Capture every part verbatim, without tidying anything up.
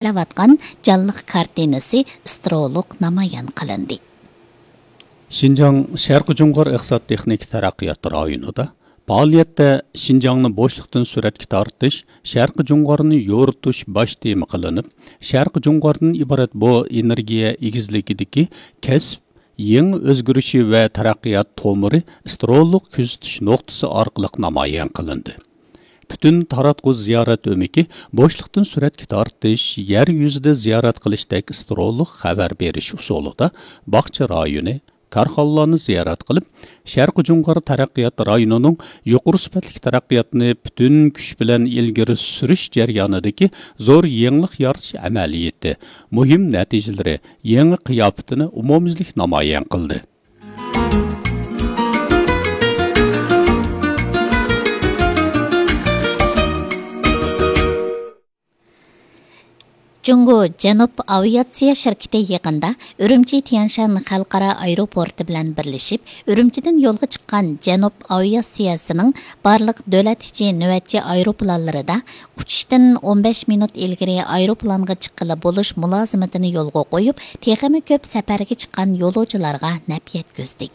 ئېلىۋاتقان جانلىق كارتىنىسى ئىسترولۇق نامايان قىلىندى. شىنجاڭ شەرقىي جۇڭغار ئىقتىساد تېخنىكا تەرەققىيات رايونىدا پائالىيەتتە شىنجاڭنى بوشلۇقتىن سۈرەتكە تارتىش، شەرقىي جۇڭغارنى يورۇتۇش باش تېما قىلىنىپ، شەرقىي جۇڭغاردىن ئىبارەت بۇ ئېنېرگىيە ئېگىزلىكىدىكى كەسىپ يېڭى ئۆزگىرىشى ۋە تەرەققىيات تومۇرى ئىسترولۇق كۆزىتىش نۇقتىسى ئارقىلىق نامايان قىلىندى. پۈتۈن تاراتقۇ زىيارەت ئۆمىكى بوشلۇقتىن سۈرەتكە تارتىش، يەر يۈزىدە زىيارەت قىلىشتەك ئىسترولۇق خەۋەر بېرىش ئۇسۇلىدا باغچە رايونى، كارخانىلارنى زىيارەت قىلىپ، شەرقىي جۇڭغار تەرەققىيات رايونىنىڭ يۇقىرى سۈپەتلىك تەرەققىياتنى پۈتۈن كۈچ بىلەن ئىلگىرى سۈرۈش جەريانىدىكى زور يېڭىلىق يارىتىش ئەمەلىيىتى، مۇھىم نەتىجىلىرى، يېڭى قىياپىتىنى ئومۇميۈزلۈك نامايان قىلدى. جۇڭگو جەنۇب ئاۋىئاتسىيە شىركىتى يېقىندا ئۈرۈمچى تيەنشان خەلقئارا ئايروپورتى بىلەن بىرلىشىپ، ئۈرۈمچىدىن يولغا چىققان جەنۇب ئاۋىئاتسىيەسىنىڭ بارلىق دۆلەت ئىچى نۆۋەتچى ئايروپىلانلىرىدا ئۇچۇشتىن ئون بەش مىنۇت ئىلگىرى ئايروپىلانغا چىققىلى بولۇش مۇلازىمىتىنى يولغا قويۇپ، تېخىمۇ كۆپ سەپەرگە چىققان يولۇچىلارغا نەپ يەتكۈزدى.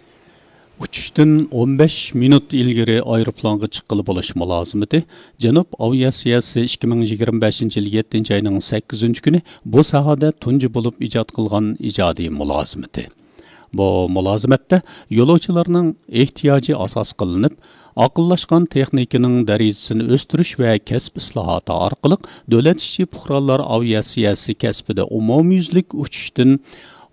ئۇچۇشتىن ئون بەش مىنۇت ئىلگىرى ئايروپىلانغا چىققىلى بولۇش مۇلازىمىتى جەنۇب ئاۋىئاتسىيەسى ئىككى مىڭ يىگىرمە بەشىنچى يىل يەتتىنچى ئاينىڭ سەككىزىنچى كۈنى بۇ ساھەدە تۇنجى بولۇپ ئىجاد قىلغان ئىجادىي مۇلازىمىتى. بۇ مۇلازىمەتتە يولۇچىلارنىڭ ئېھتىياجى ئاساس قىلىنىپ، ئاقىللاشقان تېخنىكىنىڭ دەرىجىسىنى ئۆستۈرۈش ۋە كەسىپ ئىسلاھاتى ئارقىلىق دۆلەت ئىچى پۇقرالار ئاۋىئاتسىيەسى كەسپىدە ئومۇميۈزلۈك ئۇچۇشتىن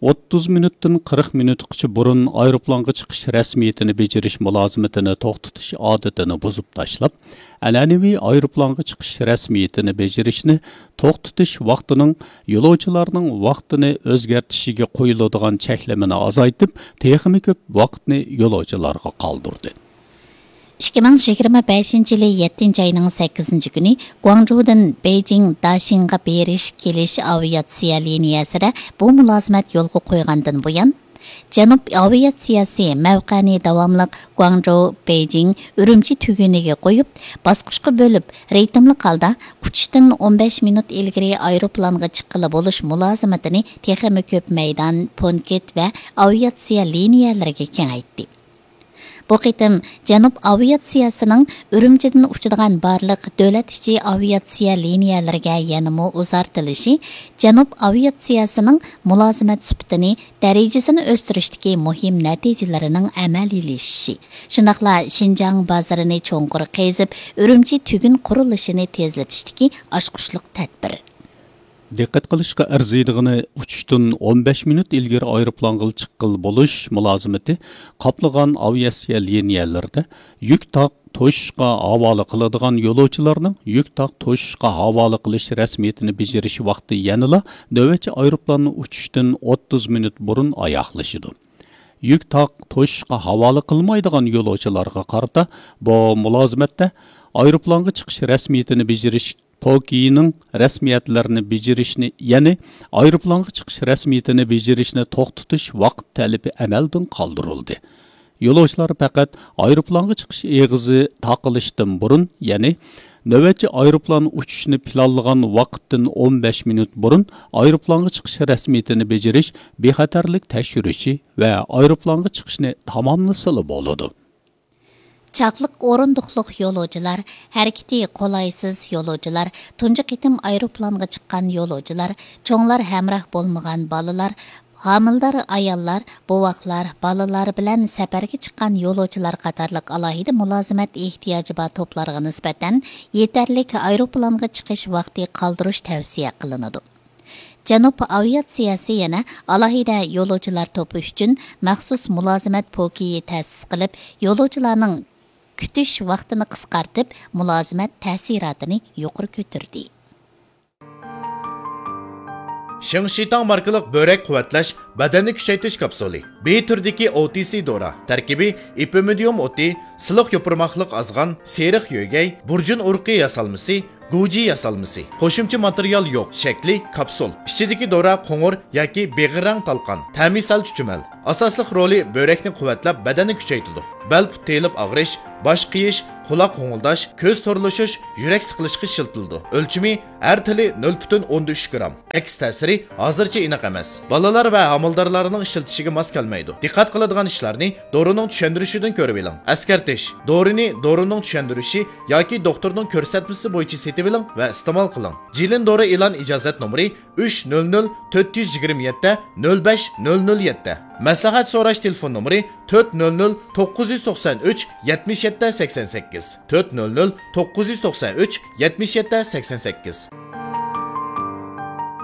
ئوتتۇز مىنۇتتىن قىرىق مىنۇتقىچە بۇرۇن ئايروپىلانغا چىقىش رەسمىيىتىنى بېجىرىش مۇلازىمىتىنى توختىتىش ئادىتىنى بۇزۇپ تاشلاپ، ئەنئەنىۋى ئايروپىلانغا چىقىش رەسمىيىتىنى بېجىرىشنى توختىتىش ۋاقتىنىڭ يولۇچىلارنىڭ ۋاقتىنى ئۆزگەرتىشىگە قويۇلىدىغان چەكلىمىنى ئازايتىپ، تېخىمۇ كۆپ ۋاقىتنى يولۇچىلارغا قالدۇردى. ئىككى مىڭ يىگىرمە بەشىنچى يىلى يەتتىنچى ئاينىڭ سەككىزىنچى كۈنى گۇاڭجۇدىن بېيجىڭ داشىڭغا بېرىش كېلىش ئاۋىئاتسىيە لىنىيەسىدە بۇ مۇلازىمەت يولغا قويغاندىن بۇيان، جەنۇب ئاۋىئاتسىيەسى مەۋقەنى داۋاملىق گۇاڭجۇ، بېيجىڭ، ئۈرۈمچى تۈگۈنىگە قويۇپ، باسقۇچقا بۆلۈپ، رىتىملىق ھالدا ئۇچۇشتىن ئون بەش مىنۇت ئىلگىرى ئايروپىلانغا چىققىلى بولۇش مۇلازىمىتىنى تېخىمۇ كۆپ مەيدان، پونكىت ۋە ئاۋىئاتسىيە لىنىيەلىرىگە كېڭەيتتى. بۇ قېتىم جەنۇب ئاۋىئاتسىيەسىنىڭ ئۈرۈمچىدىن ئۇچىدىغان بارلىق دۆلەت ئىچى ئاۋىئاتسىيە لىنىيەلىرىگە يەنىمۇ ئۇزارتىلىشى جەنۇب ئاۋىئاتسىيەسىنىڭ مۇلازىمەت سۈپىتىنى، دەرىجىسىنى ئۆستۈرۈشتىكى مۇھىم نەتىجىلىرىنىڭ ئەمەلىيلىشىشى، شۇنداقلا شىنجاڭ بازىرىنى چوڭقۇر قېزىپ، ئۈرۈمچى تۈگۈن قۇرۇلۇشىنى تېزلىتىشتىكى ئاچقۇچلۇق تەدبىر. دىققەت قىلىشقا ئەرزىيدىغىنى، ئۇچۇشتىن ئون بەش مىنۇت ئىلگىرى ئايروپىلانغا چىققىلى بولۇش مۇلازىمىتى قاپلىغان ئاۋىئاتسىيە لىنىيەلىرىدە يۈك تاق توشۇشقا ھاۋالە قىلىدىغان يولۇچىلارنىڭ يۈك تاق توشۇشقا ھاۋالە قىلىش رەسمىيىتىنى بېجىرىش ۋاقتى يەنىلا نۆۋەتچى ئايروپىلاننى ئۇچۇشتىن ئوتتۇز مىنۇت بۇرۇن ئاياغلىشىدۇ. يۈك تاق توشۇشقا ھاۋالە قىلمايدىغان يولۇچىلارغا قارىتا بۇ مۇلازىمەتتە ئايروپىلانغا چىقىش رەسمىيىتىنى بېجىرىش پوكىينىڭ رەسمىيەتلەرنى بېجىرىشنى، يەنى ئايروپىلانغا چىقىش رەسمىيىتىنى بېجىرىشنى توختىتىش ۋاقىت تەلىپى ئەمەلدىن قالدۇرۇلدى. يولۇچىلار پەقەت ئايروپىلانغا چىقىش ئېغىزى تاقىلىشتىن بۇرۇن، يەنى نۆۋەتچى ئايروپىلان ئۇچۇشنى پىلانلىغان ۋاقىتتىن ئون بەش مىنۇت بۇرۇن ئايروپىلانغا چىقىش رەسمىيىتىنى بېجىرىش بىخەتەرلىك تەكشۈرۈشى ۋە ئايروپىلانغا چىقىشنى تاماملىسىلا بولىدۇ. چاقلىق ئورۇندۇقلۇق يولۇچىلار، ھەرىكىتى قولايسىز يولۇچىلار، تۇنجى قېتىم ئايروپىلانغا چىققان يولۇچىلار، چوڭلار ھەمراھ بولمىغان بالىلار، ھامىلىدار ئاياللار، بوۋاقلار، بالىلار بىلەن سەپەرگە چىققان يولۇچىلار قاتارلىق ئالاھىدە مۇلازىمەت ئېھتىياجى بار توپلارغا نىسبەتەن يېتەرلىك ئايروپىلانغا چىقىش ۋاقتى قالدۇرۇش تەۋسىيە قىلىنىدۇ. جەنۇب ئاۋىئاتسىيەسى يەنە ئالاھىدە يولۇچىلار توپى ئۈچۈن مەخسۇس مۇلازىمەت پوكىيى تەسىس قىلىپ، يولۇچىلارنىڭ كۈتۈش ۋاقتىنى قىسقارتىپ، مۇلازىمەت تەسىراتىنى يۇقىرى كۆتۈردى. شىڭشىتاڭ ماركىلىق بۆرەك قۇۋۋەتلەش بەدەننى كۈچەيتىش كاپسۇلى. بى تۈرىدىكى ئو تى سى دورا. تەركىبى ئېپىمىدىيۇم ئوتى، سىلىق يوپۇرماقلىق ئازغان، سېرىق يۆگەي، بۇرجۇن ئۇرۇقى ياسالمىسى، گۇجى ياسالمىسى. قوشۇمچە ماتېرىيال يوق. شەكلى كاپسۇل. ئىچىدىكى دورا قوڭۇر ياكى بېغىر رەڭ تالقان. تەمى سەل چۈچۈمەل. ئاساسلىق رولى بۆرەكنى قۇۋۋەتلەپ، بەدەننى كۈچەيتىدۇ. بەل پۇت تېيىلىپ ئاغرىش، باش قېيىش، قۇلاق غوڭۇلداش، كۆز تورلىشىش، يۈرەك سىقىلىشقا ئىشلىتىلىدۇ. ئۆلچىمى ھەر تىلى نۆل پۈتۈن ئوندىن ئۈچ گرام. ئەكس تەسىرى ھازىرچە ئېنىق ئەمەس. بالىلار ۋە ھامىلىدارلارنىڭ ئىشلىتىشىگە ماس كەلمەيدۇ. دىققەت قىلىدىغان ئىشلارنى دورىنىڭ چۈشەندۈرۈشىدىن كۆرۈۋېلىڭ. ئەسكەرتىش: دورىنى دورىنىڭ چۈشەندۈرۈشى ياكى دوختۇرنىڭ كۆرسەتمىسى بويىچە سېتىۋېلىڭ ۋە ئىستېمال قىلىڭ. جىلىن دورا ئېلان ئىجازەت نومۇرى ئۈچ نۆل نۆل تۆت يۈز يىگىرمە يەتتە نۆل بەش نۆل نۆل يەتتە. مەسلىھەت سوراش تېلېفون نومۇرى تۆت نۆل نۆل توققۇز يۈز توقسان ئۈچ يەتمىش يەتتە سەكسەن سەككىز، تۆت نۆل نۆل توققۇز يۈز توقسان ئۈچ يەتمىش يەتتە سەكسەن سەككىز.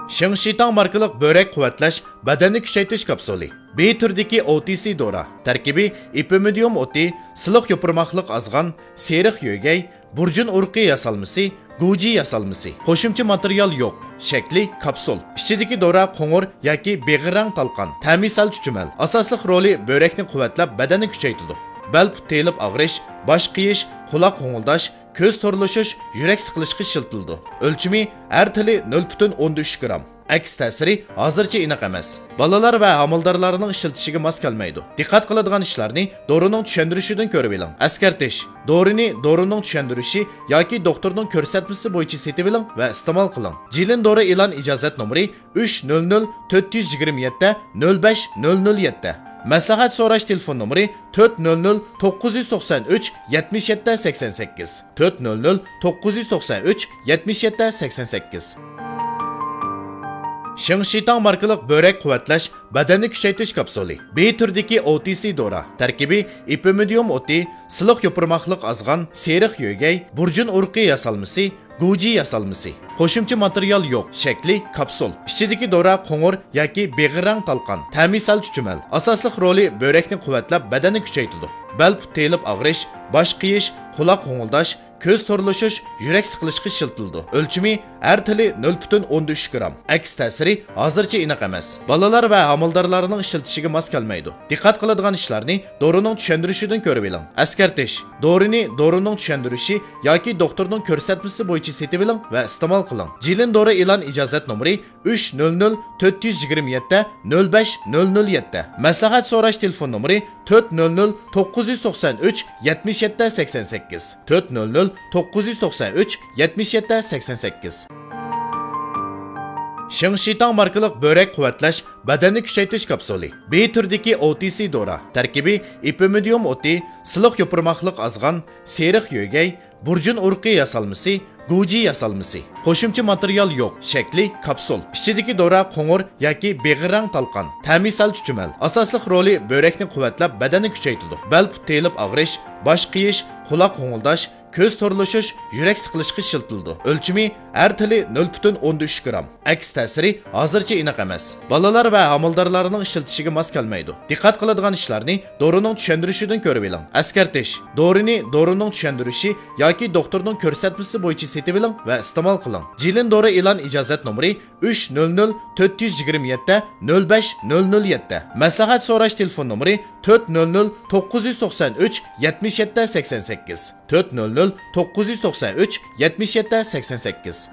شىڭشىتاڭ ماركىلىق بۆرەك قۇۋۋەتلەش، بەدەننى كۈچەيتىش كاپسۇلى. بى تۈرىدىكى ئو تى سى دورا. تەركىبى: ئېپىمىدىيۇم ئوتى، سىلىق يوپۇرماقلىق ئازغان، سېرىق يۆگەي، بۇرجۇن ئۇرۇقى ياسالمىسى، گۇجى ياسالمىسى. قوشۇمچە ماتېرىيال يوق. شەكلى كاپسۇل. ئىچىدىكى دورا قوڭۇر ياكى بېغىر رەڭ تالقان. تەمى سەل چۈچۈمەل. ئاساسلىق رولى بۆرەكنى قۇۋۋەتلەپ، بەدەننى كۈچەيتىدۇ. بەل پۇت تېيىلىپ ئاغرىش، باش قېيىش، قۇلاق غوڭۇلداش، كۆز تورلىشىش، يۈرەك سىقىلىشقا ئىشلىتىلىدۇ. ئۆلچىمى: ھەر تىلى نۆل پۈتۈن ئوندىن ئۈچ گرام. ئەكس تەسىرى ھازىرچە ئېنىق ئەمەس. بالىلار ۋە ھامىلىدارلارنىڭ ئىشلىتىشىگە ماس كەلمەيدۇ. دىققەت قىلىدىغان ئىشلارنى دورىنىڭ چۈشەندۈرۈشىدىن كۆرۈۋېلىڭ. ئەسكەرتىش: دورىنى دورىنىڭ چۈشەندۈرۈشى ياكى دوختۇرنىڭ كۆرسەتمىسى بويىچە سېتىۋېلىڭ ۋە ئىستېمال قىلىڭ. جىلىن دورا ئېلان ئىجازەت نومۇرى ئۈچ نۆل نۆل تۆت يۈز يىگىرمە يەتتە نۆل بەش نۆل نۆل يەتتە. مەسلىھەت سوراش تېلېفون نومۇرى تۆت نۆل نۆل توققۇز يۈز توقسان ئۈچ يەتمىش يەتتە سەكسەن سەككىز، تۆت نۆل نۆل توققۇز يۈز توقسان ئۈچ يەتمىش يەتتە سەكسەن سەككىز. شىڭشىتاڭ ماركىلىق بۆرەك قۇۋۋەتلەش، بەدەننى كۈچەيتىش كاپسۇلى. بى تۈرىدىكى ئو تى سى دورا. تەركىبى: ئېپىمىدىيۇم ئوتى، سىلىق يوپۇرماقلىق ئازغان، سېرىق يۆگەي، بۇرجۇن ئۇرۇقى ياسالمىسى، گۇجى ياسالمىسى. قوشۇمچە ماتېرىيال يوق. شەكلى كاپسۇل. ئىچىدىكى دورا قوڭۇر ياكى بېغىر رەڭ تالقان. تەمى سەل چۈچۈمەل. ئاساسلىق رولى بۆرەكنى قۇۋۋەتلەپ، بەدەننى كۈچەيتىدۇ. بەل پۇت تېيىلىپ ئاغرىش، باش قېيىش، قۇلاق غوڭۇلداش، كۆز تورلىشىش، يۈرەك سىقىلىشقا ئىشلىتىلىدۇ. ئۆلچىمى: ھەر تىلى نۆل پۈتۈن ئوندىن ئۈچ گرام. ئەكس تەسىرى ھازىرچە ئېنىق ئەمەس. بالىلار ۋە ھامىلىدارلارنىڭ ئىشلىتىشىگە ماس كەلمەيدۇ. دىققەت قىلىدىغان ئىشلارنى دورىنىڭ چۈشەندۈرۈشىدىن كۆرۈۋېلىڭ. ئەسكەرتىش: دورىنى دورىنىڭ چۈشەندۈرۈشى ياكى دوختۇرنىڭ كۆرسەتمىسى بويىچە سېتىۋېلىڭ ۋە ئىستېمال قىلىڭ. جىلىن دورا ئېلان ئىجازەت نومۇرى ئۈچ نۆل نۆل تۆت يۈز يىگىرمە يەتتە نۆل بەش نۆل نۆل يەتتە. مەسلىھەت سوراش تېلېفون نومۇرى تۆت نۆل نۆل توققۇز يۈز توقسان ئۈچ يەتمىش يەتتە سەكسەن سەككىز، تۆت نۆل نۆل توققۇز يۈز توقسان ئۈچ يەتمىش يەتتە سەكسەن سەككىز. شىڭشىتاڭ ماركىلىق بۆرەك قۇۋۋەتلەش، بەدەننى كۈچەيتىش كاپسۇلى. بى تۈرىدىكى ئو تى سى دورا. تەركىبى: ئېپىمىدىيۇم ئوتى، سىلىق يوپۇرماقلىق ئازغان، سېرىق يۆگەي، بۇرجۇن ئۇرۇقى ياسالمىسى، گۇجى ياسالمىسى. قوشۇمچە ماتېرىيال يوق. شەكلى كاپسۇل. ئىچىدىكى دورا قوڭۇر ياكى بېغىر رەڭ تالقان. تەمى سەل چۈچۈمەل. ئاساسلىق رولى بۆرەكنى قۇۋۋەتلەپ، بەدەننى كۈچەيتىدۇ. بەل پۇت تېيىلىپ ئاغرىش، باش قېيىش، قۇلاق غوڭۇلداش، كۆز تورلىشىش، يۈرەك سىقىلىشقا ئىشلىتىلىدۇ. ئۆلچىمى: ھەر تىلى نۆل پۈتۈن ئوندىن ئۈچ گرام. ئەكس تەسىرى ھازىرچە ئېنىق ئەمەس. بالىلار ۋە ھامىلىدارلارنىڭ ئىشلىتىشىگە ماس كەلمەيدۇ. دىققەت قىلىدىغان ئىشلارنى دورىنىڭ چۈشەندۈرۈشىدىن كۆرۈۋېلىڭ. ئەسكەرتىش: دورىنى دورىنىڭ چۈشەندۈرۈشى ياكى دوختۇرنىڭ كۆرسەتمىسى بويىچە سېتىۋېلىڭ ۋە ئىستېمال قىلىڭ. جىلىن دورا ئېلان ئىجازەت نومۇرى ئۈچ نۆل نۆل تۆت يۈز يىگىرمە يەتتە نۆل بەش نۆل نۆل يەتتە. مەسلىھەت سوراش تېلېفون نومۇرى تۆت نۆل نۆل توققۇز يۈز توقسان ئۈچ يەتمىش يەتتە سەكسەن سەككىز، تۆت نۆل نۆل توققۇز يۈز توقسان ئۈچ يەتمىش يەتتە سەكسەن سەككىز.